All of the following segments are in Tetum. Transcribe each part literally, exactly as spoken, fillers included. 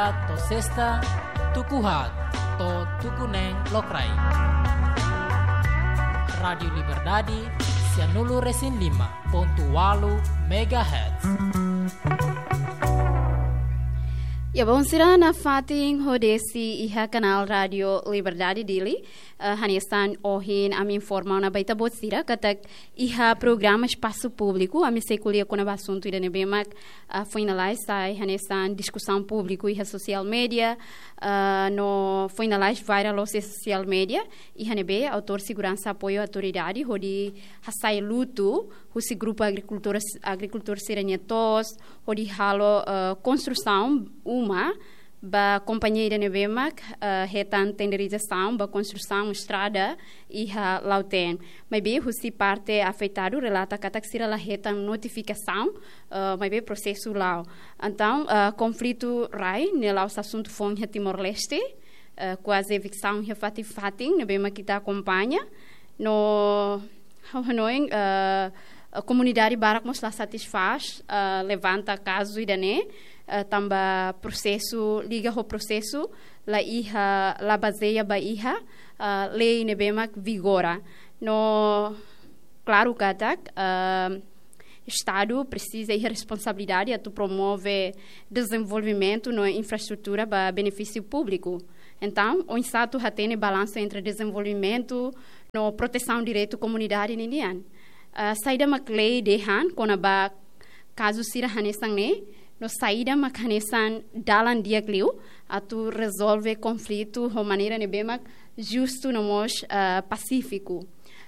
To'o sesta, tuku haat to'o tuku neen lokraik. Rádiu Liberdade, sianulu-resin-lima pontu ualu megahertz. Ya, bainhira nafatin hodi sei iha kanál Rádiu Liberdade Dili, eh, hanesan ohin ami informa ona ba ita-boot sira katak iha programa espasu públiku, ami sei ko'alia kona-ba asuntu ida ne'ebé mak, ah, foin lalais sai hanesan diskusaun públiku iha sosiál media, ah, no foin lalais viral loos iha sosiál media, iha ne'ebé autór seguransa apoiu autoridade hodi hasai lutu husi grupu agrikultór, agrikultór sira-nia to'os, hodi halo, ah, konstrusaun uma ba kompañia ida ne'ebé mak, eh, hetan tenderizasaun ba konstrusaun estrada iha Lautém. Maibé husi parte afetadu relata katak sira la hetan notifikasaun, eh, maibé prosesu la'o. Entaun, eh, konflitu rai ne'e la'ós asuntu foun iha Timor-Leste, eh, kuaze eviksaun iha fatin-fatin ne'ebé mak ita akompaña. No ha'u hanoin, eh, eh, komunidade barak mós la satisfás, eh, levanta kazu ida-ne'e, eh, tanba prosesu, liga ho prosesu, la iha, la bazeia ba iha, eh, lei ne'ebé mak vigora. No, klaru katak, eh, Estadu presiza iha responsabilidade atu promove dezenvolvimentu no infraestrutura ba benefísiu públiku. Entaun, oinsá atu hatene balansu entre dezenvolvimentu no protesaun direitu komunidade ninian. Ah, saida mak lei dehan kona-ba kazu sira hanesan ne'e, no saida mak hanesan dalan di'ak liu atu rezolve konflitu ho maneira ne'ebé mak justu no mós, ah, pasífiku.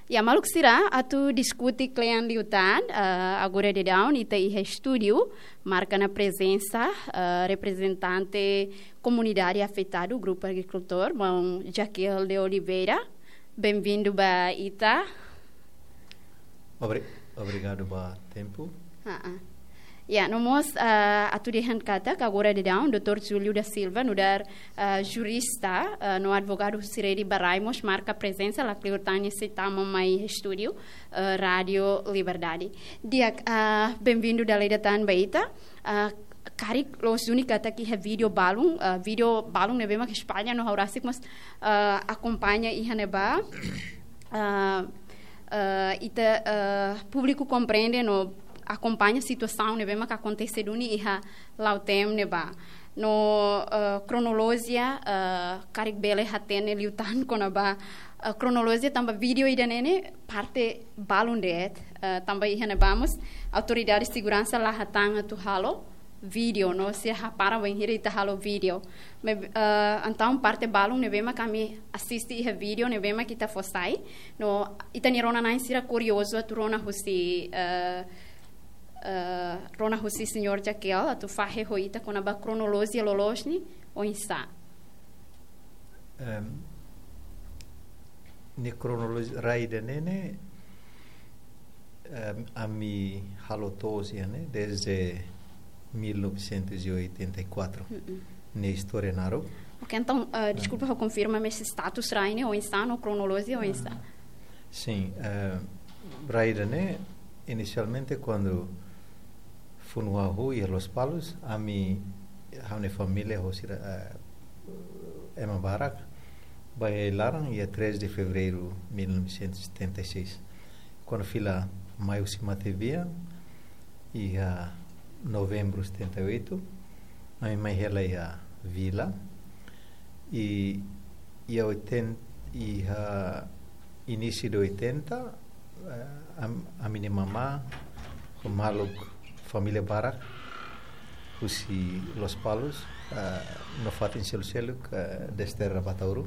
Ya, maluk sira, atu diskute kle'an liután, ah, agora daudaun ita iha estúdiu, marka ona prezensa, ah, reprezentante komunidade afetadu, grupu agrikultór, maun Jaquel de Oliveira. Benvindu ba ita. Obri-, obrigadu ba tempu. Ah, ah. Ya, no mós, ah, atu dehan katak agora daudaun, doutór Júlio da Silva, nu'udar, ah, jurista, ah, no advogadu husi Rede ba Rai mós marka prezensa, lakleur tan nia sei tama mai estúdiu, ah, Rádiu Liberdade. Di'ak, ah, benvindu dala ida tan ba ita. Ah, karik loos duni katak iha vídeo balun, ah, vídeo balun ne'ebé mak espalla no ha'u rasik mós, ah, akompaña iha ne'ebá. Ah, ah, ita, ah, públiku komprende no akompaña situasaun ne'ebé mak akontese duni iha Lautém ne'ebá. No, ah, kronolojia, ah, karik bele hatene liután kona-ba, ah, kronolojia tanba vídeo ida-ne'e ne'e parte balun de'it, ah, tanba iha ne'ebá mós autoridade seguransa la hatán atu halo vídeo, no sira hapara bainhira ita halo vídeo. Me, eh, entaun parte balun ne'ebé mak ami asiste iha vídeo ne'ebé mak ita fó sai. No ita-nia rona-na'in sira kuriozu atu rona husi, eh, eh, rona husi señór Jaquel atu fahe ho ita kona-ba kronolojia loloos ne'e oinsá. Em, nia kronolojia rai ida-ne'e ne'e, em, ami halo to'os iha ne'e desde mil novecentos e oitenta e quatro. Mm-mm. Nia istória naruk. Ok, entaun, eh, deskulpa, ha'u konfirma, mas status rai ne'e oinsá no kronolojia oinsá? Ah, sin, eh, rai ida-ne'e, inisialmente, kuandu funu hahú iha Lospalos, ami, ha'u-nia família, ho sira, eh, ema barak, bá iha ai-laran iha três de fevereiro mil novecentos e setenta e seis. Kuandu fila mai husi matebian, iha novembru setenta e oito, ami mai hela iha vila, i, iha oitenta, iha inísiu de oitenta, eh, am-, ami-nia mamá, ho maluk família barak, husi Lospalos, eh, no fatin seluk-seluk, eh, desterra ba Ataúro.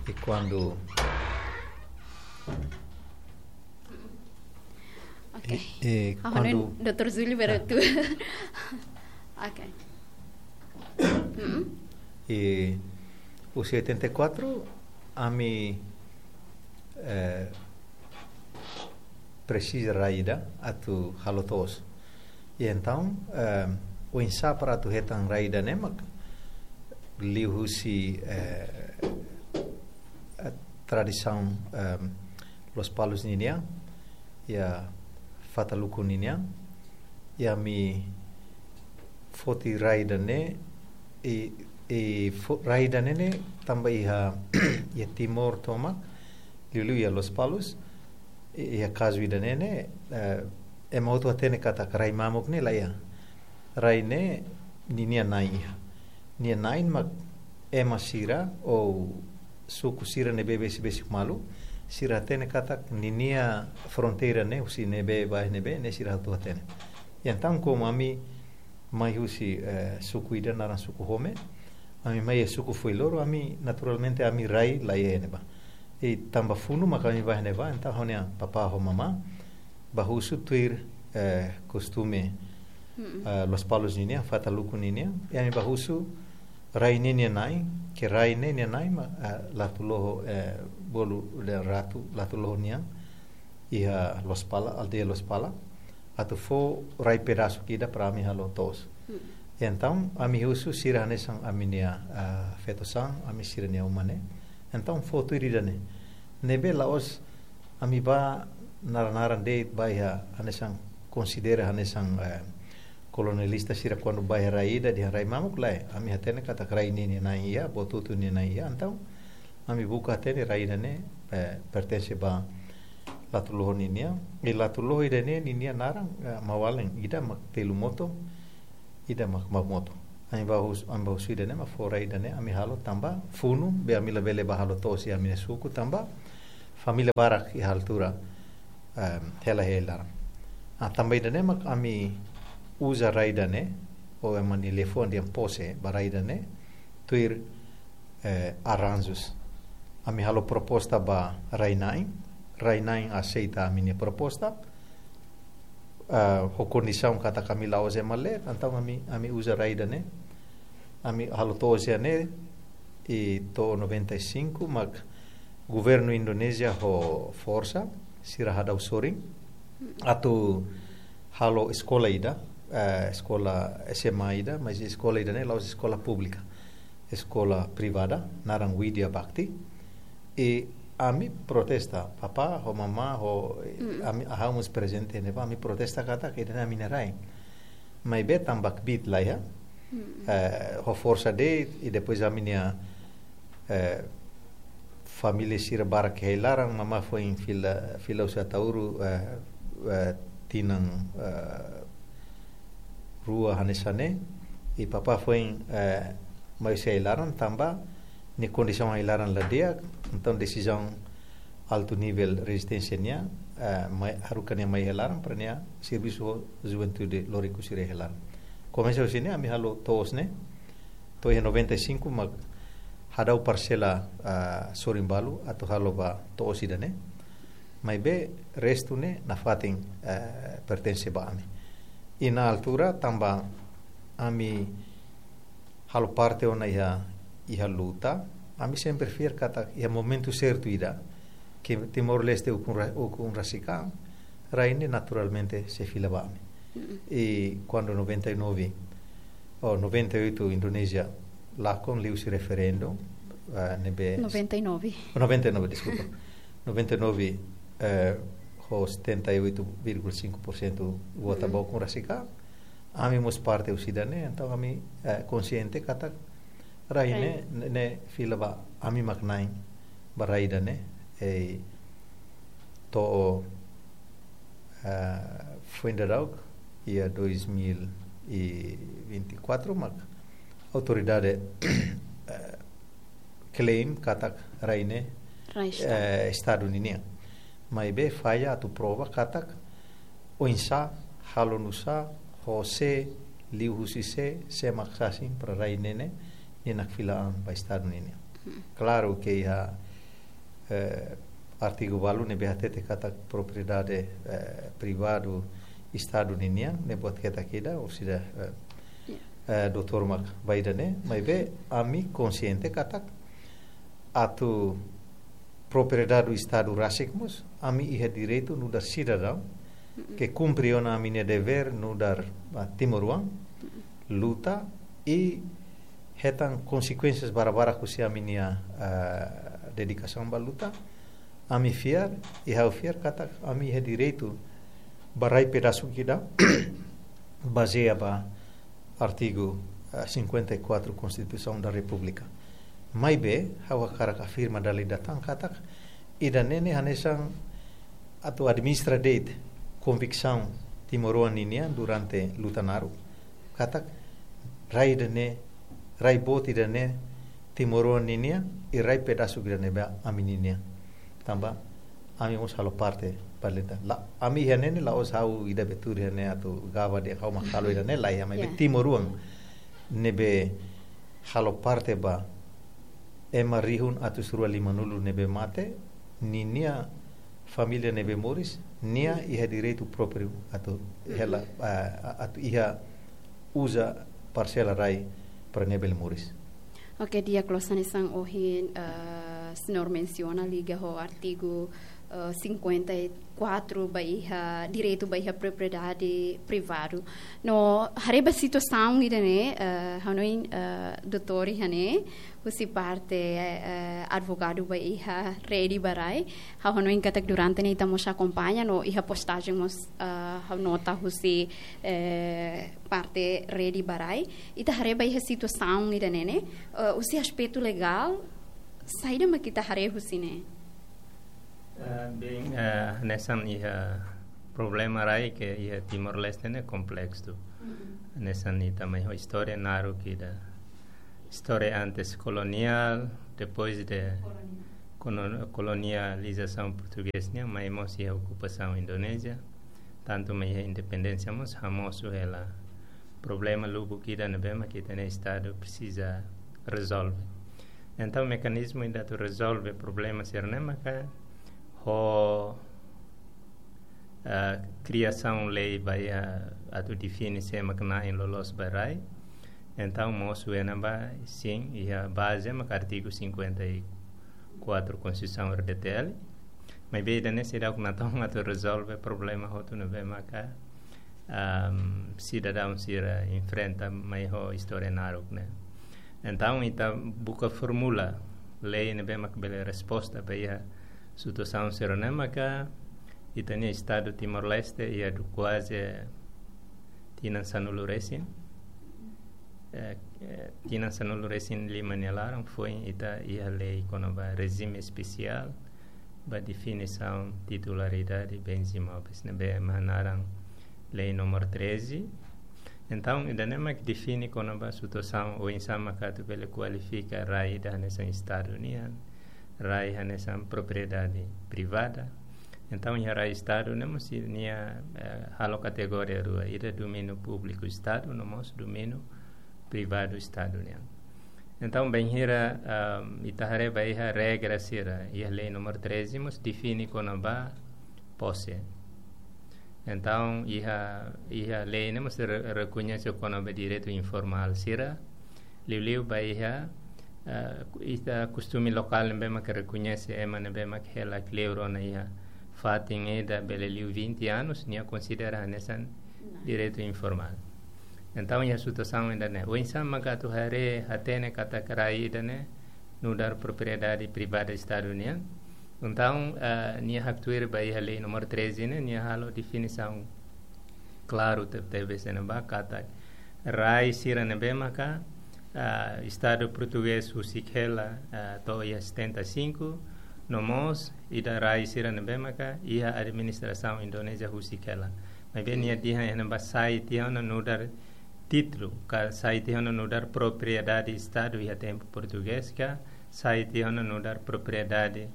I kuandu Ok. I, i, ah, kuandu, no, doutór Júlio, ah, berarti. Ok. Mm-mm. I husi oitenta e quatro, ami, eh, presiza rai ida atu halo to'os. I entaun, eh, oinsá para atu hetan rai ida-ne'e mak liuhusi, eh, eh, tradisaun, em, Lospalos ninian, iha Fataluku ninian, iha ami foti rai ida-ne'e, I, i fo-, rai ida-ne'e ne'e tanba iha, iha Timor tomak, liuliu iha Lospalos, i, iha kazu ida-ne'e ne'e, eh, ema hotu hatene katak rai mamuk ne'e la iha. Rai ne'e ninia na'in iha. Nia na'in mak ema sira ou suku sira ne'ebé besik-besik malu, sira hatene katak ninia fronteira ne'e, husi ne'ebé ba ne'ebé, ne'e sira hotu hatene. Entaun, komu ami mai husi, eh, suku ida naran suku Home, ami mai iha suku Fuiloro, ami naturalmente ami rai la iha ne'ebá. I tanba funu maka ami ba ne'ebá, entaun ha'u-nia papá ho mamá bá husu tuir, eh, kostume, Mm-mm. eh, Lospalos ninian, Fataluku ninian, i ami bá husu rai ne'e nia na'in, ke rai ne'e nia na'in mak, eh, Latuloho, eh, bolu de ratu, Latuloho nian, iha Lospala, aldeia Lospala, atu fó rai pedasuk ida para ami halo to'os. Mm. Entaun, ami husu sira hanesan ami-nia, ah, feto-saan, ami sira-nia uma ne'e. Entaun, fó tuir ida-ne'e. Ne'ebé la'ós ami bá naran-naran de'it ba iha hanesan konsidera hanesan, eh, kolonialista sira kuandu ba iha rai ida dehan rai mamuk, lae. Ami hatene katak rai ne'e nia na'in iha, boot hotu nia na'in iha. Entaun, ami buka hatene rai ida-ne'e, eh, pertense ba Latuloho ninian. I Latuloho ida-ne'e ninia naran, eh, Mawalen, ida mak Telumoto, ida mak Mamoto. Ami bá hus-, ami bá husu ida-ne'e mak fó rai ida-ne'e ami halo tanba funu, be ami labele bá halo to'os iha ami-nia suku tanba família barak iha altura, em, hela iha ai-laran. Ah, tanba ida-ne'e mak ami uza rai ida-ne'e, ou ema nia liafuan dehan pose ba rai ida-ne'e, tuir, eh, arranjus. Ami halo proposta ba rai-na'in, rai-na'in aseita ami-nia proposta, ah, ho kondisaun katak ami la'ós ema leet, entaun ami, ami uza rai ida-ne'e, ami halo to'os iha ne'e, i to'o noventa e cinco, mak governu Indonézia ho forsa, sira hadau sorin, atu halo eskola ida, eh, eskola S M A ida, mas eskola ida-ne'e la'ós eskola públika, eskola privada, naran Widya Bhakti. I ami protesta, papá, ho mamá, ho, Mm. ami, ha'u mós prezente ne'ebá, ami protesta katak ida-ne'e ami-nia rai. Maibé tanba kbiit la iha, Mm. eh, ho forsa de'it, i depois ami-nia, eh, família sira barak iha ai-laran, mamá foin fila, fila husi Ataúru, eh, eh, tinan, eh, rua hanesan ne'e, i papá foin, eh, mai husi ai-laran tanba nia kondisaun ai-laran la di'ak, entaun desizaun altu nivel rezisténsia nian, eh, mai, haruka nia mai iha ai-laran para nia servisu ho juventude loriku sira iha ai-laran. Komesa husi ne'e ami halo to'os ne'e, to'o iha noventa e cinco mak hadau parsela, ah, sorin balu atu halo ba to'os ida-ne'e. Maibé restu ne'e nafatin, eh, pertense ba ami. I iha altura tanba ami halo parte ona iha, iha luta, ami sempre fiar katak iha momentu sertu ida, ke Timor-Leste ukun ra-, ukun rasik an, rai ne'e naturalmente sei fila ba ami. Mm-mm. I kuandu noventa e nove, ou noventa e oito Indonézia lakon liuhusi referendu, ah, ne'ebé Noventa e nove. Noventa e nove, deskulpa. Noventa e nove, eh, ho setenta e oito vírgula cinco por cento vota Mm. ba ukun rasik an, ami mós parte husi ida-ne'e, entaun ami, eh, konsiente katak rai Rai. ne'e, ne'e, ne'e fila ba ami mak na'in ba rai ida-ne'e, i to'o, eh, foin daudauk, iha dois mil e vinte e quatro mak autoridade, eh, klaim katak rai ne'e, Rai Estadu. eh, Estadu ninian. Maibé falla atu prova katak oinsá, halo nu'usá, ho sé, liuhusi sé, sé mak sasin para rai ne'e ne'e, nia nakfila'an ba Estadu ninian. Hmm. Klaru ke iha, eh, artigu balu ne'ebé hatete katak propriedade, eh, privadu Estadu ninian, ne'e buat ketak ida, orsida, eh, Ya. eh, doutór mak ba ida-ne'e, maibé ami konsiente katak atu propriedade Estadu rasik mós, ami iha direitu nu'udar sidadaun, Mm-mm. ke kumpre ona ami-nia devér nu'udar, ah, timoroan, Mm-mm. luta i hetan konsekuénsias barak-barak husi ami-nia, ah, dedikasaun ba luta. Ami fiar, i ha'u fiar katak ami iha direitu ba rai pedasuk ida, bazeia ba artigu, ah, cinquenta e quatro Constituição da República. Maibé, ha'u hakarak afirma dala ida tan katak, ida-ne'e ne'e hanesan atu administra de'it konviksaun timoroan ninian durante luta naruk. Katak, rai ida-ne'e, rai boot ida-ne'e timoroan ninian, i rai pedasuk ida-ne'ebé ami ninian. Tanba, ami mós halo parte ba luta. La, ami iha ne'e ne'e la'ós ha'u ida be tuur iha ne'e atu gaba dehan ha'u mak halo ida-ne'e, la iha, maibé Ya. timoroan ne'ebé halo parte ba ema rihun atus rua limanulu ne'ebé mate, ninia família ne'ebé moris, nia iha direitu própriu atu hela, ah, atu iha uza parsela rai para nia bele moris. Oke, di'ak, loos, hanesan ohin, eh, señór mensiona liga ho artigu, eh, cinquenta e quatro ba iha direitu ba iha propriedade privadu. No, haree ba situasaun ida-ne'e, eh, hanoin, eh, doutór iha ne'e, husi parte, eh, advogadu ba iha Rede ba Rai. Ha'u hanoin katak durante ne'e ita mós akompaña, no iha postajen mós, eh, ha'u nota husi, eh, parte Rede ba Rai. Ita haree ba iha situasaun ida-ne'e ne'e, eh, husi aspetu legál, saida mak ita haree husi ne'e? Eh, bem, eh, hanesan iha problema rai ke iha Timor-Leste ne'e kompleksu. Mm-mm. Hanesan ita mai ho istória naruk ida. Istória antes koloniál, depois de Koloniál. kono-, kolonializasaun portugés nian, mai mós iha okupasaun Indonézia. Tantu mai iha independénsia mós hamosu hela problema lubuk ida ne'ebé mak ita-nia Estadu presiza rezolve. Entaun, mekanizmu ida atu rezolve problema sira-ne'e maka ho, ah, kriasaun lei ba iha atu define sé mak na'in loloos ba rai. Entaun, mosu iha ne'ebá, sin, iha baze maka artigu cinquenta e quatro Konstituisaun R D T L. Maibé ida-ne'e seidauk natoon atu rezolve problema hotu ne'ebé maka, am, sidadaun sira enfrenta mai ho istória naruk ne'e. Entaun, ita buka formula lei ne'ebé mak bele resposta ba iha situasaun sira-ne'e maka ita-nia Estadu Timor-Leste iha du kuaze tinan sanulu resin. Eh, eh, tinan sanulu resin lima nia laran foin ita iha lei kona-ba rejime espesiál ba definisaun titularidade bens imóveis ne'ebé mak naran lei número treze. Entaun, ida-ne'e mak define kona-ba situasaun oinsá maka atu bele kualifika rai ida hanesan Estadu nian, rai hanesan propriedade privada. Entaun, iha rai Estadu ne'e mós nia, eh, halo kategoria rua, ida domíniu públiku Estadu, no mós domíniu privadu Estadu nian. Entaun, bainhira, ah, ita haree ba iha regra sira, iha lei número treze mós define kona-ba pose. Entaun, iha, iha lei ne'e mós re-, rekoñese kona-ba direitu informál sira, liuliu ba iha, ah, ita kostume lokál ne'ebé mak rekoñese ema ne'ebé mak hela kleur ona iha fatin ida bele liu vinte anos, nia konsidera hanesan direitu informál. Entaun, iha situasaun ida-ne'e, oinsá maka atu haree hatene katak rai ida-ne'e nu'udar propriedade privada Estadu nian. Entaun, eh, nia haktuir ba iha lei número treze ne'e, nia halo definisaun klaru tebetebes iha ne'ebá katak rai sira ne'ebé maka, ah, Estadu portugés husik hela, ah, to'o iha setenta e cinco, no mós ida rai sira ne'ebé maka iha administrasaun Indonézia husik hela. Maibé nia dehan iha ne'ebá sai tiha ona nu'udar títulu, ka sai tiha ona nu'udar propriedade Estadu iha tempu portugés ka, sai tiha ona nu'udar propriedade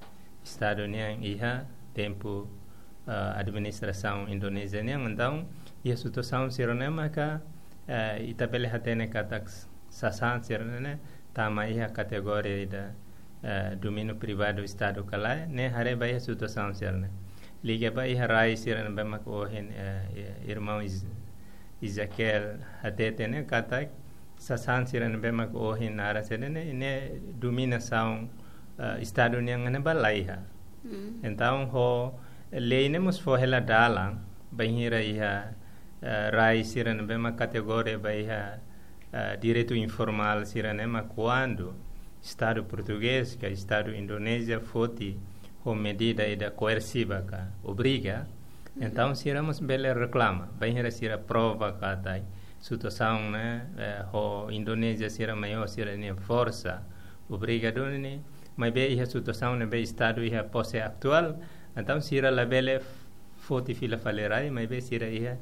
Estadu nian iha tempu, ah, administrasaun Indonézia nian. Entaun, iha situasaun sira-ne'e maka, eh, ita bele hatene katak sasán sira-ne'e tama iha kategoria ida, eh, domíniu privadu Estadu ka lae, ne'e haree ba iha situasaun sira-ne'e. Liga ba iha rai sira ne'ebé mak ohin, eh, eh, irmaun Is-, Ezequiel hatete ne'e katak sasán sira ne'ebé mak ohin naran sira-ne'e, ne'e dominasaun, eh, Estadu nian ne'ebá la iha. Mm. Entaun, ho lei ne'e mós fó hela dalan, bainhira iha, eh, rai sira ne'ebé mak kategoria ba iha, eh, direitu informál sira-ne'e mak kuandu Estadu portugés ka Estadu Indonézia foti ho medida ida koersiva ka obriga, Mhm. entaun sira mós bele reklama, bainhira sira prova katak situasaun ne'e, eh, ho Indonézia sira mai ho sira-nia forsa obriga duni, maibé iha situasaun ne'ebé Estadu iha pose atuál, entaun sira labele foti fila fali rai, maibé sira iha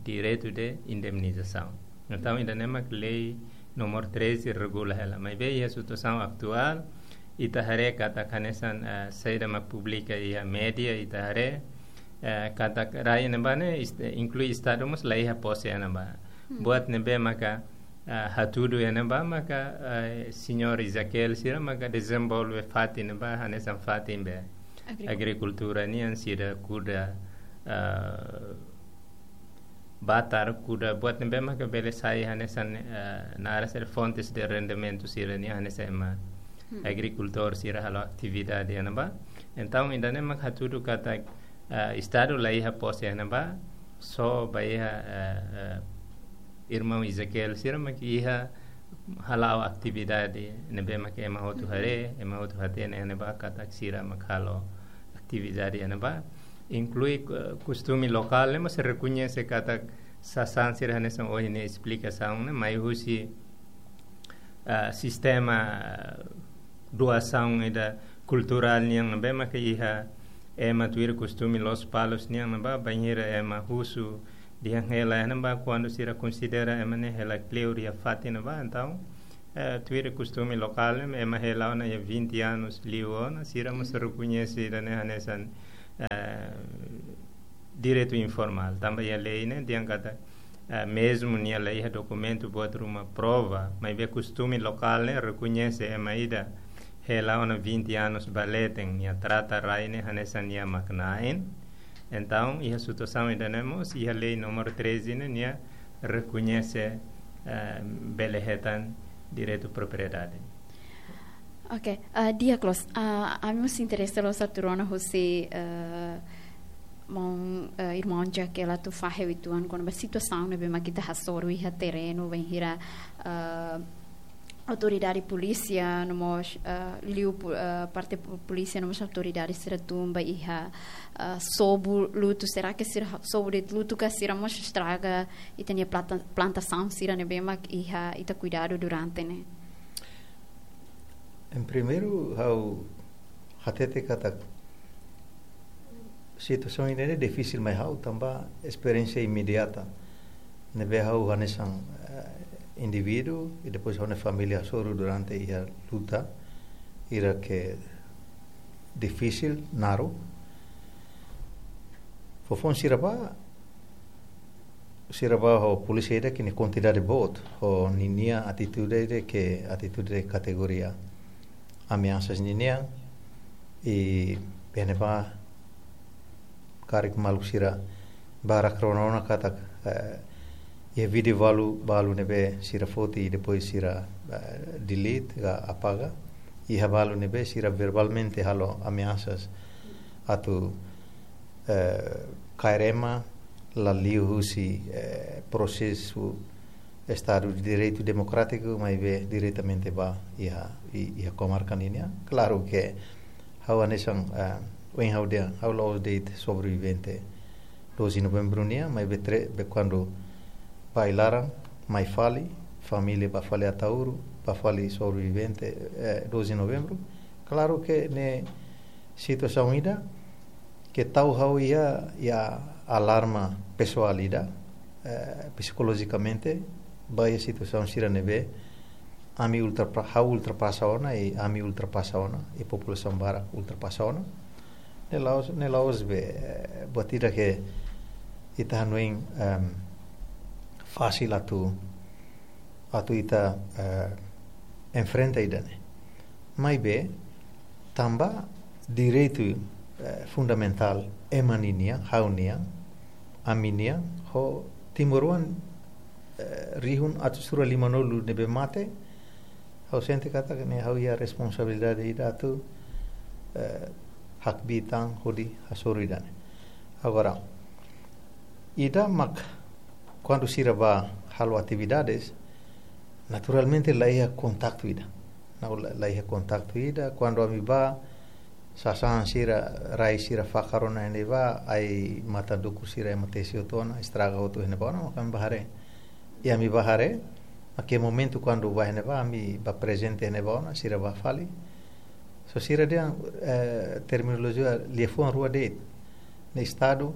direitu de indemnizasaun. Entaun, ida-ne'e mak lei númeru treze regula hela. Maibé iha situasaun atuál, ita haree katak hanesan, eh, saida mak publika iha média, ita haree, eh, katak rai ne'ebá ne'e, est-, inklui Estadu mós la iha pose ne'ebá. Hmm. Buat ne'ebé maka, eh, hatudu iha ne'ebá maka, eh, señór Ezequiel sira maka dezenvolve fatin ne'ebá, hanesan fatin be Agrikultura. Agrikultura nian sira kuda, eh, batar kuda buat ne'ebé maka bele sai hanesan, eh, naran sira fontes de rendimentu sira-nian hanesan ema Hmm. agrikultór sira halo atividade iha ne'ebá. Entaun, ida-ne'e mak hatudu katak, eh, Estadu la iha pose iha ne'ebá, só ba iha, eh, eh, irmaun Ezequiel sira mak iha hala'o atividade ne'ebé mak ema hotu Mhm. haree, ema hotu hatene iha ne'ebá katak sira mak halo atividade iha ne'ebá. Inklui, eh, kostume lokál ne'e mós rekoñese katak sasán sira hanesan ohin ne'e esplikasaun ne'e mai husi, ah, sistema, ah, doasaun ida kulturál nian ne'ebé maka iha ema tuir kostume Lospalos nian ne'ebá, bainhira ema husu dehan hela iha ne'ebá, kuandu sira konsidera ema ne'e hela kleur iha fatin ne'ebá, entaun, eh, tuir kostume lokál ne'e, ema hela ona iha vinte anos liu ona, sira mós Mhm. rekoñese ida-ne'e hanesan, eh, direitu informál. Tanba iha lei ne'e dehan katak, eh, mezmu nia la iha dokumentu buat ruma prova, maibé kostume lokál ne'e rekoñese ema ida hela ona vinte anos ba leten, nia trata rai ne'e hanesan nia mak na'in. Entaun, iha situasaun ida-ne'e mós, iha lei númeru treze ne'e, nia rekoñese, eh, bele hetan direitu propriedade. Ok, ah, di'ak loos, ah, ami mós interese loos atu rona husi, eh, maun, eh, irmaun Ezequiel atu fahe uitoan kona-ba situasaun ne'ebé mak ita hasoru iha terrenu, bainhira, eh, autoridade polísia no mós, eh, liu pu-, eh, parte pu-, polísia no mós autoridade sira tun ba iha, eh, sobu lutu, será que sira ha-, sobu de'it lutu ka sira mós estraga ita-nia planta-, plantasaun sira ne'ebé mak iha ita kuidadu durante ne'e? Em primeiru, ha'u hatete katak situasaun ida-ne'e difisil mai ha'u tanba esperiénsia imediata ne'ebé ha'u hanesan, eh, indivíduu, i depois ha'u-nia família hasoru durante iha luta ida ke difisil, naruk. Foufoun sira bá, sira bá ho polísia ida ke nia kuantidade boot, ho ninia atitude ida ke atitude kategoria ameasas ninian, i iha ne'ebá karik maluk sira barak rona ona katak, eh, iha vídeo balu, balu ne'ebé sira foti i depois sira, eh, delete ka apaga. Iha balu ne'ebé sira verbalmente halo ameasas atu, eh, kaer ema la liu husi, eh, prosesu Estadu de Direitu Demokrátiku, maibé diretamente ba iha, i-, iha komarka ninian. Klaru ke ha'u hanesan, eh, ohin ha'u dehan, ha'u la'ós de'it sobrevivente doze Novembru nian, maibé tre-, be kuandu bá iha laran, mai fali, família bá fali Ataúro, bá fali sobrevivente, eh, doze Novembru. Klaru ke ne'e situasaun ida ke tau ha'u iha, iha alarma pesoál ida, eh, psikolojikamente, ba iha situasaun sira ne'ebé ami ultrapa-, ha'u ultrapasa ona, i ami ultrapasa ona, i populasaun barak ultrapasa ona. Ne'e la'ós, ne'e la'ós be, eh, buat ida ke ita hanoin, em, fasil atu, atu ita, eh, enfrenta ida-ne'e. Maibé, tanba direitu, eh, fundamentál ema ninian, ha'u-nian, ami-nian, ho timoroan, eh, rihun atus rua limanulu ne'ebé mate, ha'u sente katak ne'e ha'u iha responsabilidade ida atu, eh, hakbiit tan hodi hasoru ida-ne'e. Agora, ida mak kuandu sira bá halo atividades, naturalmente la iha kontaktu ida. Não, la, la iha kontaktu ida. Kuandu ami bá, sasán sira, rai sira fakar ona iha ne'ebá, ai-matan dukur sira ema tesi hotu ona, estraga hotu iha ne'ebá ona, maka ami bá haree. I ami bá haree, mak iha momentu kuandu bá iha ne'ebá, ami bá prezente iha ne'ebá ona, sira bá fali. Só sira dehan, eh, terminolojia liafuan rua de'it. Ne'e Estadu,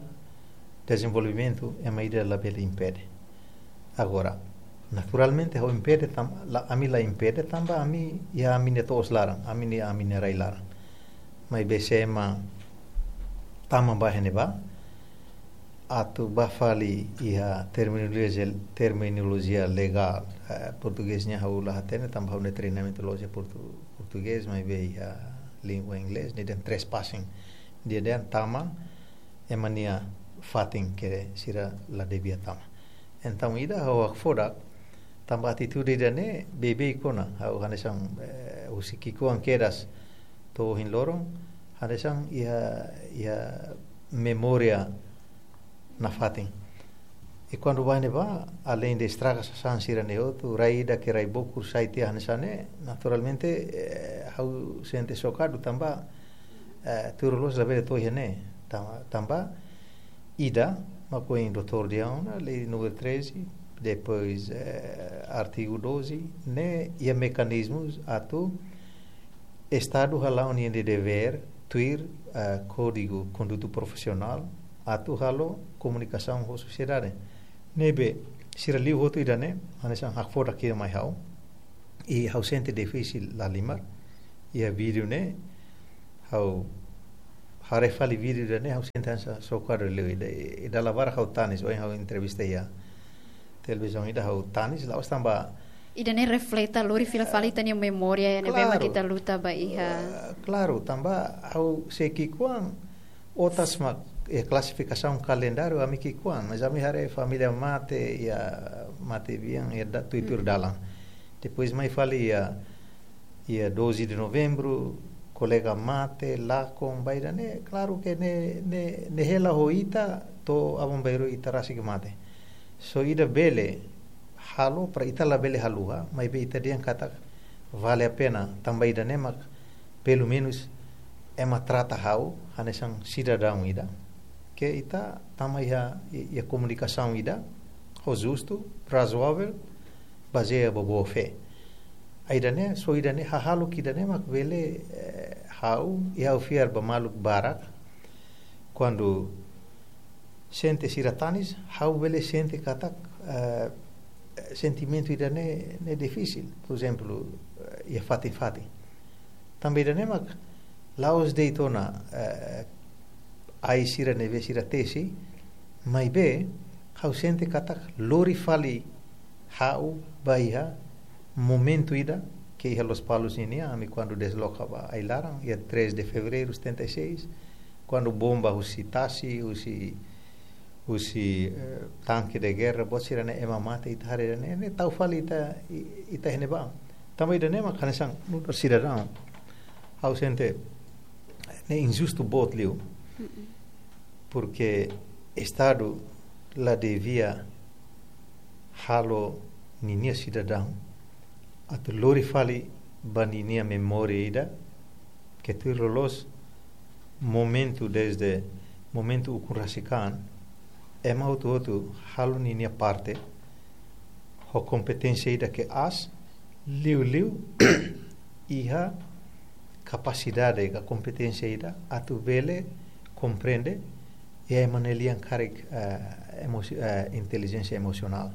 dezenvolvimentu, ema ida labele impede. Agora, naturalmente, ha'u impede tam-, la, ami la impede tanba ami, iha ami-nia to'os laran, ami-nia, ami-nia rai laran. Maibé se ema tama bá iha ne'ebá, atu bá fali iha terminolojia, terminolojia legál, eh, portugés nian ha'u la hatene, tanba ha'u-nia treinamentu la'ós iha portu-, portugés, maibé iha língua inglés, nia dehan trespassing. Nia dehan tama, ema nia fatin ke sira la devia tama. Entaun ida ha'u hakfodak, tanba atitude ida-ne'e beibeik ona, ha'u hanesan, eh, husi ki'ikoan kedas to'o ohin loron, hanesan iha, iha memória nafatin. I kuandu bá ne'ebá, aleinde estraga sasán sira-ne'e hotu, rai ida ke rai bokur sai tiha hanesan ne'e, naturalmente, eh, ha'u sente xokadu tanba, eh, tuir loloos labele to'o iha ne'e, tanba, tanba ida, mak ohin doutór dehan ona, lei númeru treze, depois, eh, artigu doze, ne'e iha mekanizmus atu Estadu hala'o ninia devér tuir, eh, Kódigu Konduta Profisionál, atu halo komunikasaun ho sosiedade. Ne'ebé, sira liu hotu ida-ne'e, hanesan hakfodak ida mai ha'u. I ha'u sente difisil lahalimar. Iha vídeo ne'e, ha'u haree fali vídeo ida-ne'e, ha'u sente hanesan xokadu liu ida, i dala barak ha'u tanis, ohin ha'u entrevista iha televizaun ida ha'u tanis, la'ós tanba Ida-ne'e refleta, lori fila fali ita-nia memória, iha ne'ebé mak Klaru. ita luta ba iha. Eh, klaru, tanba ha'u sei ki'ikoan, otas mak, eh, klasifikasaun kalendáriu ami ki'ikoan, mas ami haree família mate, iha mate bian, iha da-, tuir-tuir Mm. dalan. Depois mai fali iha, iha doze de novembro, kolega mate, lakon, ba ida-ne'e, klaru ke ne'e, ne'e, ne'e hela ho ita, to'o aban-bainrua ita rasik mate. Só ida bele halo, para ita labele haluha, maibé ita dehan katak vale a pena, tanba ida-ne'e mak, pelumenus, ema trata ha'u, hanesan sidadaun ida. Ke ita tama iha, iha komunikasaun ida, ho justu, razoável, bazeia ba boa fé. Ida-ne'e, só ida-ne'e, hahalok ida-ne'e mak bele, eh, ha'u, i ha'u fiar ba maluk barak, kuandu sente sira tanis, ha'u bele sente katak, eh, sentimentu ida-ne'e, ne'e difisil. Por ezemplu, eh, iha fatin-fatin. Tanba ida-ne'e mak la'ós de'it ona, eh, ai sira ne'ebé sira tesi, maibé ha'u sente katak lori fali ha'u ba iha momentu ida ke iha Lospalos nian, ami kuandu desloka ba ai-laran, iha três de fevereiro setenta e seis, kuandu bomba husi tasi, husi, husi, eh, tanke de guerra, buat sira-ne'e ema mate, ita haree ida-ne'e, ne'e tau fali ita, i-, ita iha ne'ebá. Tanba ida-ne'e mak hanesan nu'udar sidadaun, ha'u sente ne'e injustu boot liu. Mm-mm. Porque Estadu la devia halo ninia sidadaun atu lori fali ba ninia memória ida, ke tuir loloos momentu desde momentu ukun rasik an, ema hotu-hotu halo ninia parte, ho kompeténsia ida ke aas, liuliu iha kapasidade ka kompeténsia ida atu bele komprende iha ema nia lian karik, eh, emosi-, eh, intelijénsia emosionál.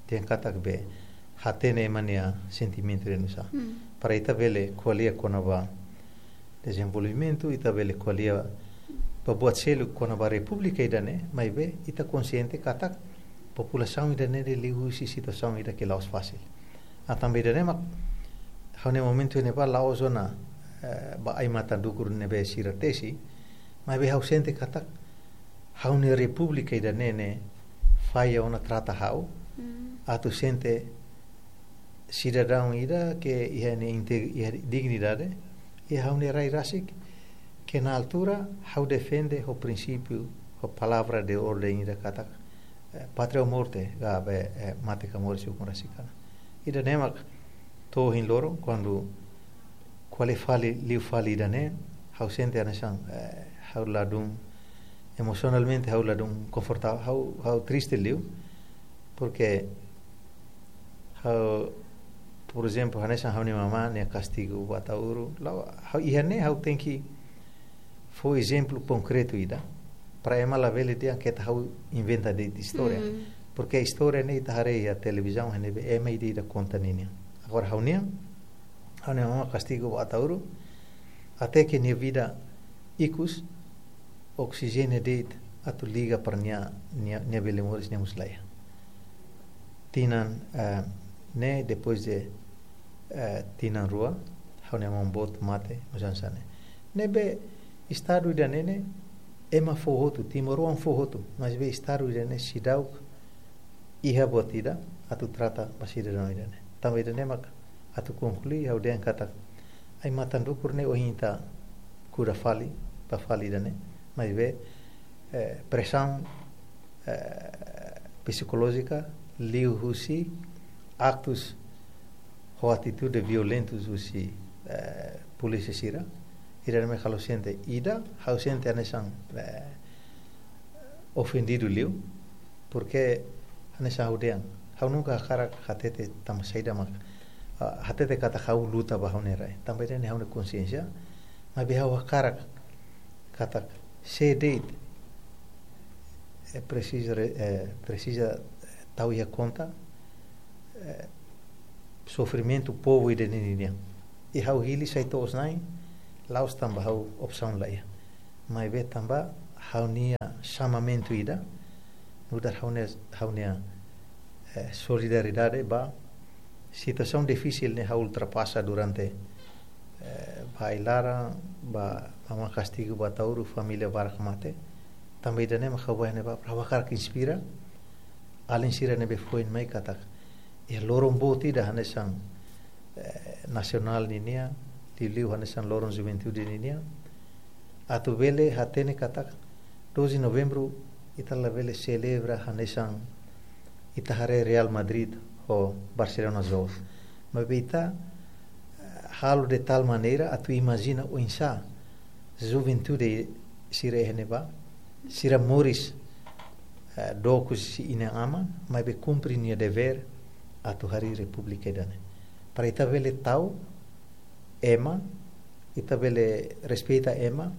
Dehan katak bele hatene ema nia sentimentu ida nusá. Hmm. Para ita bele ko'alia kona-ba dezenvolvimentu, ita bele ko'alia ba buat seluk kona-ba repúblika ida-ne'e, maibé ita konsiente katak populasaun ida-ne'e liuhusi situasaun ida ke la'ós fasil. Ah, tanba ida-ne'e mak ha'u-nia momentu ne'ebá la'ós ona, eh, ba ai-matan dukur ne'ebé sira tesi, maibé ha'u sente katak ha'u-nia repúblika ida-ne'e ne'e falla ona trata ha'u, Mm. atu sente sidadaun ida ke iha nia inte-, iha dignidade, iha ha'u-nia rai rasik, ke na altura ha'u defende ho prinsípiu, ho palavra de orden ida katak, eh, pátria ou morte, ka be, eh, mate ka moris ukun rasik an. Ida-ne'e mak to'o ohin loron, kuandu ko'alia fali, liu fali ida-ne'e, ha'u sente hanesan, eh, ha'u ladún, emosionalmente ha'u ladún konfortável, ha'u, ha'u triste liu, porque Ha'u, por ezemplu, hanesan ha'u-nia mamá nia kastigu ba Ataúru, la'ós ha'u iha ne'e, ha'u tenke fó ezemplu konkretu ida, para ema labele dehan katak ha'u inventa de'it istória. Porke istória ne'e ita haree iha televizaun, ne'ebé ema ida-ida konta ninia. Agora ha'u-nian, ha'u-nia mamá kastigu ba Ataúru, até ke nia vida ikus, oksijéniu de'it atu liga para nia, nia, nia bele moris, nia mós laiha. Tinan, eh, ne'e, depois de, eh, tinan rua, ha'u-nia maun boot mate, no hanesan ne'e. Ne'ebé estadu ida-ne'e ne'e, ema fó hotu, timoroan fó hotu, maibé estadu ida-ne'e seidauk iha buat ida atu trata ba sidadaun ida-ne'e. Tanba ida-ne'e mak atu konklui, ha'u dehan katak, ai-matan dukur ne'e ohin ita kuda fali, ba fali ida-ne'e. Maibé, eh, presaun, eh, psikolójika, liuhusi aktus ho atitude violentus husi, eh, polísia sira. Ida-ne'e mak ha'u sente ida, ha'u sente hanesan, eh, ofendidu liu, porke hanesan ha'u dehan, ha'u nunka hakarak hatete tanba saida mak, ah, hatete katak ha'u luta ba ha'u-nia rai. Tanba ida-ne'e ha'u-nia konsiénsia, maibé ha'u hakarak katak sé de'it, eh, presiza re-, eh, presiza tau iha konta, eh, sofrimentu povu ida-ne'e nian. I ha'u hili sai to'os-na'in, la'ós tanba ha'u opsaun laiha. Maibé tanba ha'u-nia xamamentu ida, nu'udar ha'u-nia, ha'u-nia, eh, solidariedade ba situasaun difisil ne'e ha'u ultrapasa durante, eh, ba ai-laran, ba mamá kastigu ba Ataúru, família barak mate. Tanba ida-ne'e mak ha'u bá ne'ebá, para ha'u hakarak inspira alin sira ne'ebé foin mai katak, iha loron boot ida hanesan, eh, nasionál ninian, liuliu hanesan loron juventude ninian, atu bele hatene katak doze Novembru ita labele selebra hanesan ita haree Real Madrid ho Barcelona jogu. Maibé ita, eh, halo de tal maneira atu imajina oinsá juventude sira iha ne'ebá, sira moris, eh, dook husi inan-aman, maibé kumpre nia devér atu harii repúblika ida-ne'e. Para ita bele tau ema, ita bele respeita ema,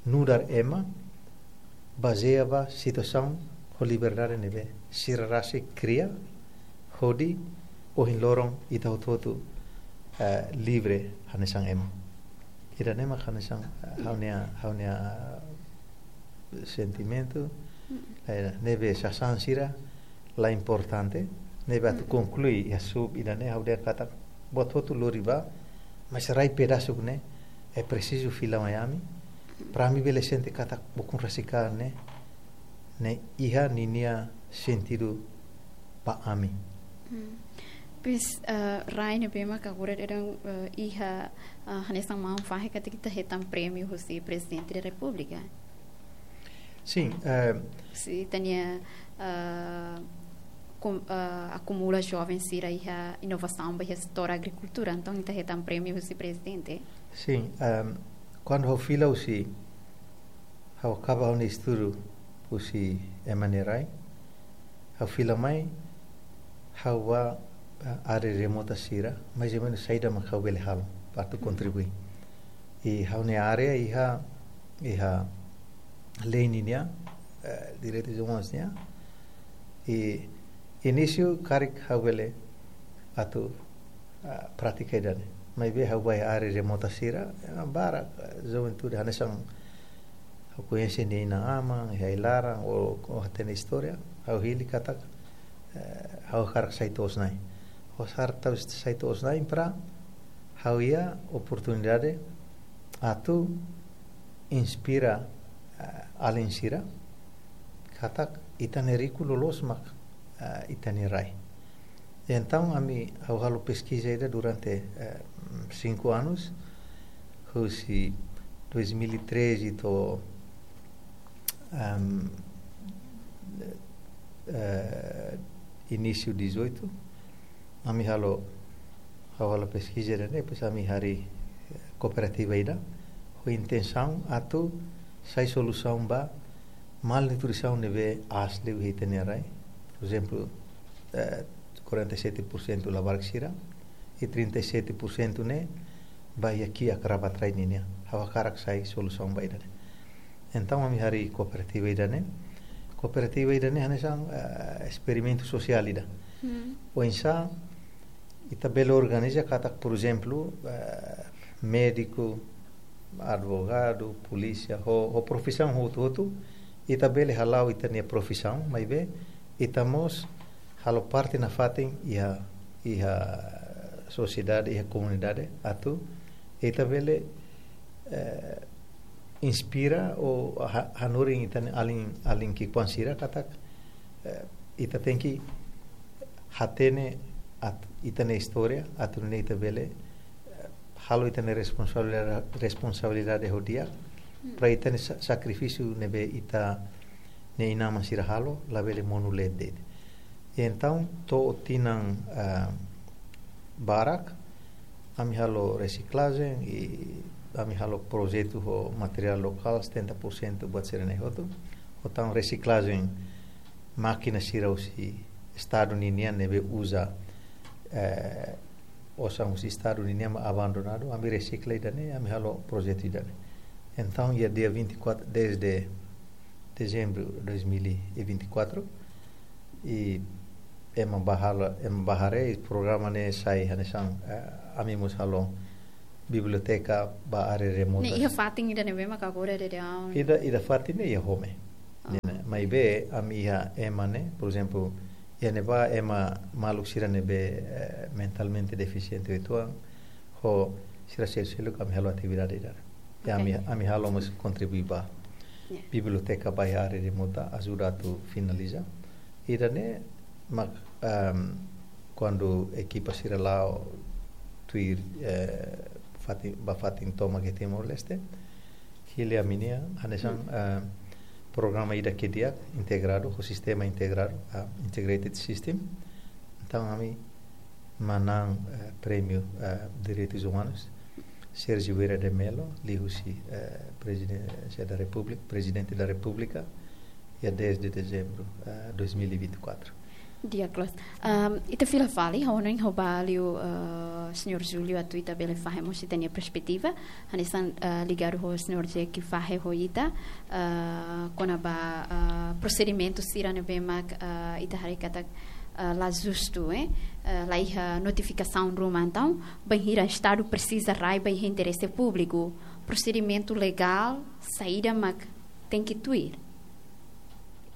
nu'udar ema, bazeia ba situasaun ho liberdade ne'ebé sira rasik kria, hodi ohin loron ita hotu-hotu, eh, livre hanesan ema. Ida-ne'e mak hanesan, eh, ha'u-nia, ha'u-nia, eh, sentimentu, eh, ne'ebé sasán sira la importante, ne'ebé atu konklui iha sub ida-ne'e, ha'u dehan katak buat hotu lori bá, mas rai pedasuk ne'e, eh, presiza fila mai ami, para ami bele sente katak ukun rasik ka ne'e, ne'e iha ninia sentidu ba ami. Pois, eh, rai ne'ebé mak agora daudaun, eh, iha, eh, hanesan maun fahe katak ita hetan prémiu husi Prezidente da Repúblika. Sin, eh, Ita-nia, eh, kum-, eh, akumula joven sira iha inovasaun ba iha setór agrikultura, entaun ita hetan prémiu husi Prezidente. Sin, eh, kuandu ha'u fila husi, ha'u akaba ha'u-nia estudu husi ema nia rai, ha'u fila mai, ha'u bá, eh, área remota sira, mais ou menus saida mak ha'u bele halo, para atu kontribui. I ha'u-nia área iha, iha lei ninian, eh, direitus umanus nian. I inísiu karik ha'u bele atu, ah, pratika ida-ne'e. Maibé ha'u bá iha área remota sira, eh, barak, eh, juventude hanesan ha'u koñese nia inan-aman, iha ai-laran, ou, ou hatene istória, ha'u hili katak, eh, ha'u hakarak sai to'os-na'in. Ha'u hakarak tau sai to'os-na'in para ha'u iha oportunidade atu inspira, eh, alin sira, katak ita-nia riku loloos mak, eh, ita-nia rai. Entaun, ami, ha'u halo peskiza ida durante, eh, cinco anos, husi dois mil e treze to'o, ehm, eh, inísiu dezoito, ami halo, ha'u halo peskiza ida-ne'e, depois ami harii, eh, kooperativa ida, ho intensaun atu sai solusaun ba malnutrisaun ne'ebé aas liu iha ita-nia rai. Por ezemplu, eh, quarenta e sete por cento labarik sira, i trinta e sete por cento ne'e ba iha kiak rabat rai nian. Ha'u hakarak sai solusaun ba ida-ne'e. Entaun, ami harii kooperativa ida-ne'e. Kooperativa ida-ne'e hanesan, eh, esperimentu sosiál ida. Hmm. Oinsá ita bele organiza katak, por ezemplu, eh, médiku, advogadu, polísia, ho, ho profisaun hotu-hotu, ita bele hala'o ita-nia profisaun, maibé ita mós halo parte nafatin iha, iha sosiedade, iha komunidade, atu ita bele, eh, inspira ou ha-, hanorin ita-nia alin, alin ki'ikoan sira katak, eh, ita tenke hatene ita-nia istória, atu nune'e ita bele, eh, halo ita-nia responsabilidade, responsabilidade ho di'ak, hmm, para ita-nia sa-, sakrifísiu ne'ebé ita-nia inan-aman sira halo, labele monu leet de'it. I entaun, to'o tinan, ah, barak, ami halo resiklajen i ami halo projetu ho materiál lokál setenta por cento buat sira-ne'e hotu. Ho tan resiklajen mákina sira husi Estadu ninian ne'ebé uza, eh, osan husi Estadu ninian mak abandonadu, ami resikla ida-ne'e, ami halo projetu ida-ne'e. Entaun, iha dia vinte e quatro, dez de dezembro de dois mil e vinte e quatro, i ema bá halo, ema bá haree, programa ne'e sai hanesan, eh, ami mós halo biblioteka ba área remota. Ne'e iha fatin ida ne'ebé mak agora daudaun? Ida, ida fatin ne'e iha Home. Ah. Ne'e, maibé ami iha ema ne'e, por ezemplu, iha ne'ebá ema maluk sira ne'ebé, eh, mentalmente defisiente uitoan, ho sira seluk-seluk ami halo atividade ida-ne'e. Ya, ami, ami halo mós kontribui ba. Ya. Biblioteka ba iha área remota, ajuda atu finaliza. Ida-ne'e mak, ehm, kuandu ekipa sira la'o tuir, eh, fatin, ba fatin tomak iha Timor-Leste, hili ami-nia hanesan, eh, programa ida ke di'ak integradu ho sistema integradu, ah, integrated system. Entaun, ami manán, eh, prémiu, eh, direitus umanus, Sérgio Vieira de Mello, liuhusi, eh, Presidência da República, Prezidente da Repúblika, iha dez de dezembro, eh, dois mil e vinte e quatro. Di'ak loos. Ahm, ita fila fali, ha'u hanoin ha'u bá liu, eh, Señór Júlio atu ita bele fahe mós ita-nia perspetiva, hanesan, eh, ligadu ho Señór Jack fahe ho ita, eh, kona-ba, eh, prosedimentu sira ne'ebé mak, eh, ita haree katak, eh, la justu, eh, eh, la iha notifikasaun ruma. Entaun, bainhira Estadu presiza rai ba iha interese públiku, prosedimentu legál saida mak tenke tuir?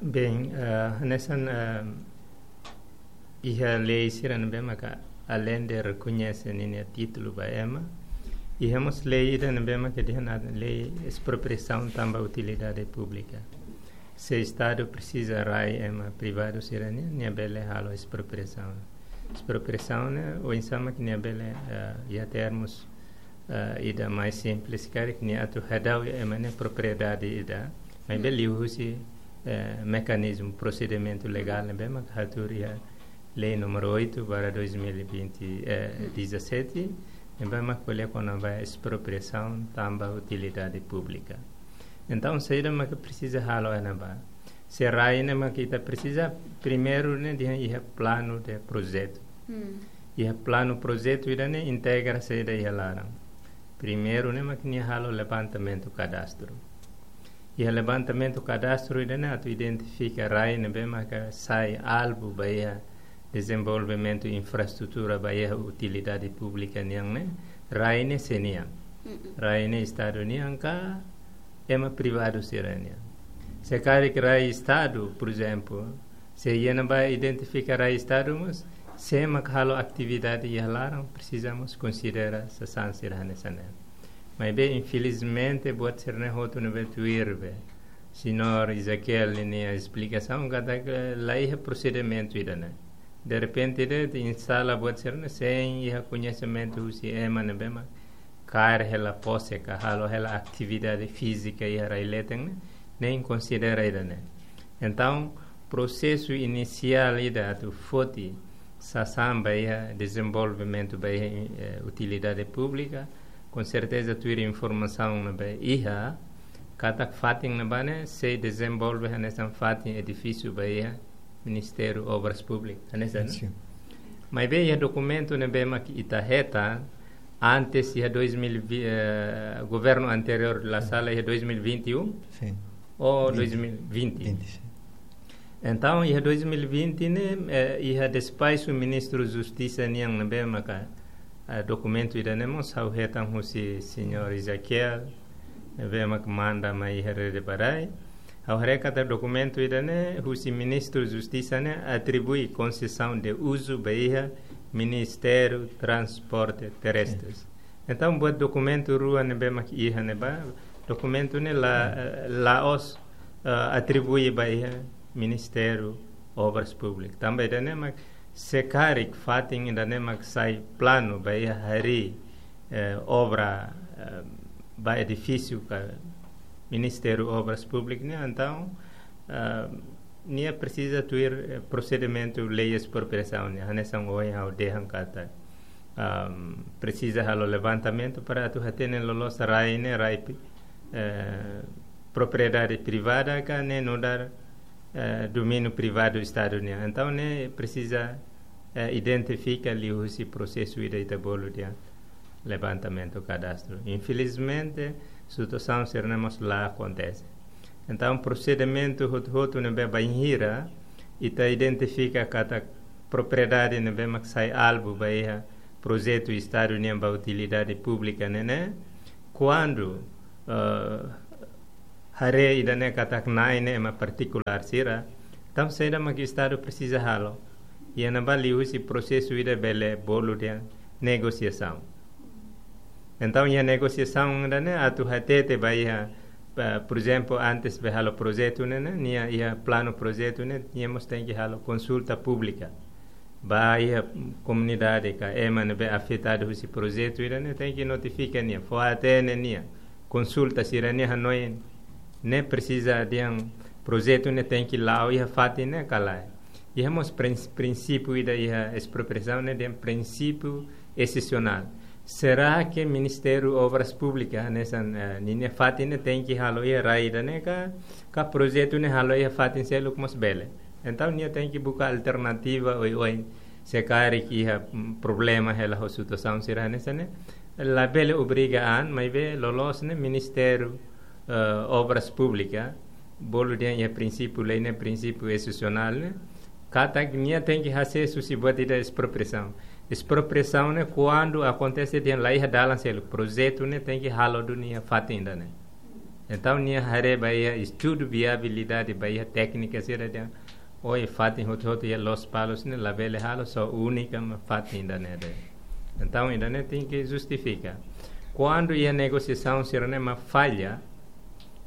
Bem, eh, hanesan, eh, iha lei sira ne'ebé maka além de rekoñese ninia títulu ba ema, iha mós lei ida ne'ebé maka dehan lei espropriasaun tanba utilidade públika. Se Estadu presiza rai ema privadu sira-nian, nia bele halo espropriasaun. Espropriasaun ne'e oinsá mak nia bele, eh, iha termus, eh, ida mais simples karik, nia atu hadau iha ema nia propriedade ida, maibé liuhusi, eh, mekanizmu, prosedimentu legál ne'ebé mak hatuur iha lei número oito barra dois mil e vinte, eh, dezassete, ne'ebé mak ko'alia kona-ba espropriasaun tanba utilidade públika. Entaun, saida mak presiza halo iha ne'ebá? Se rai ne'e mak ita presiza, primeiru ne'e dehan iha planu de projetu. Hmm. Iha planu projetu ida-ne'e integra saida iha laran. Primeiru ne'e mak nia halo levantamentu kadastru. Iha levantamentu kadastru ida-ne'e atu identifika rai ne'ebé maka sai alvu ba iha dezenvolvimentu infraestrutura ba iha utilidade públika nian ne'e, rai ne'e sé nian? Mm-mm. Rai ne'e Estadu nian ka ema privadu sira-nian? Se karik rai Estadu, por ezemplu, se iha ne'ebá identifika rai Estadu mós, sé mak halo atividade iha laran, presiza mós konsidera sasán sira hanesan ne'e. Maibé, infelizmente, buat sira-ne'e hotu ne'ebé tuir be. Señór Ezequiel ninia esplikasaun katak la iha prosedimentu ida-ne'e. Derrepente de'it instala buat sira-ne'e sein iha koñesimentu husi ema ne'ebé mak kaer hela pose ka halo hela atividade fízika iha rai leten ne'e, nein konsidera ida-ne'e. Entaun, prosesu inisiál ida atu foti sasán ba iha dezenvolvimentu ba iha, eh, utilidade públika, konserteza tuir informasaun ne'ebé iha, katak fatin ne'ebá ne'e sei dezenvolve hanesan fatin edifísiu ba iha Ministériu Obras Públikas, hanesan, no? Sin. Maibé iha dokumentu ne'ebé mak ita hetan antes iha dois mil e vinte, eh, governu anteriór la sala iha dois mil e vinte e um Sin. ou Vinte. dois mil e vinte. Vinte, sin. Entaun, iha dois mil e vinte ne'e, eh, iha despaxu Ministru Justisa nian ne'ebé maka, eh, dokumentu ida-ne'e mós ha'u hetan husi señór Ezequiel, ne'ebé maka manda mai iha Rede ba Rai. Ha'u haree katak dokumentu ida-ne'e husi Ministru Justisa ne'e atribui konsesaun de uzu ba iha Ministériu Transporte Terrestres. Sin. Entaun, buat dokumentu rua ne'ebé mak iha ne'ebá, dokumentu ne'e la, Sin. eh, la'ós, eh, atribui ba iha Ministériu Obras Públikas. Tanba ida-ne'e mak se karik fatin ida-ne'e mak sai planu ba iha harii, eh, obra, eh, ba edifísiu ka Ministériu Obras Públikas ne'e, entaun, eh, nia presiza tuir, eh, prosedimentu lei espropriasaun ne'e, hanesan ohin ha'u dehan katak, ahm, presiza halo levantamentu para atu hatene loloos rai ne'e, rai pri-, eh, propriedade privada ka ne'e nu'udar, eh, domíniu privadu Estadu nian. Entaun, ne'e presiza, eh, identifika liuhusi prosesu ida ita bolu dehan levantamentu kadastru. Infelizmente, situasaun sira-ne'e mós la akontese. Entaun, prosedimentu hotu-hotu ne'ebé bainhira ita identifika katak propriedade ne'ebé mak sai alvu ba iha projetu Estadu nian ba utilidade públika ne'e, ne'e, kuandu, eh, haree ida-ne'e katak na'in ne'e ema partikulár sira, entaun saida mak Estadu presiza halo? Iha ne'ebá liuhusi prosesu ida bele bolu dehan negosiasaun. Entaun, iha negosiasaun ida-ne'e atu hatete ba iha, pa, por ezemplu, antes be halo projetu ne'e, ne'e, nia iha planu projetu ne'e, nia mós tenke halo konsulta públika. Ba iha komunidade ka ema ne'ebé afetadu husi projetu ida-ne'e, tenke notifika nia, fó-hatene nia, konsulta sira-nia hanoin, ne'e presiza dehan projetu ne'e tenke la'o iha fatin ne'e ka lae. Iha mós prins-, prinsípiu ida iha espropriasaun ne'e dehan prinsípiu exesionál. Será que Ministériu Obras Públikas, hanesan, eh, ninia fatin ne'e tenke halo iha rai ida-ne'e ka, ka projetu ne'e halo iha fatin seluk mós bele? Entaun, nia tenke buka alternativa oioin, se karik iha, mm, problema hela ho situasaun sira hanesan ne'e, labele obriga an, maibé loloos ne'e Ministériu, eh, Obras Públikas, bolu dehan iha prinsípiu lei ne'e, prinsípiu exesionál ne'e, katak nia tenke hasees husi buat ida espropriasaun. Espropriasaun ne'e kuandu akontese dehan la iha dalan seluk, projetu ne'e tenke halo duni iha fatin ida-ne'e. Entaun, nia haree ba iha estudu viabilidade, ba iha téknika sira dehan, ohin fatin hotu-hotu iha Lospalos ne'e labele halo, só únika mak fatin ida-ne'e de'it. Entaun, ida-ne'e tenke justifika. Kuandu iha negosiasaun sira-ne'e mak falla,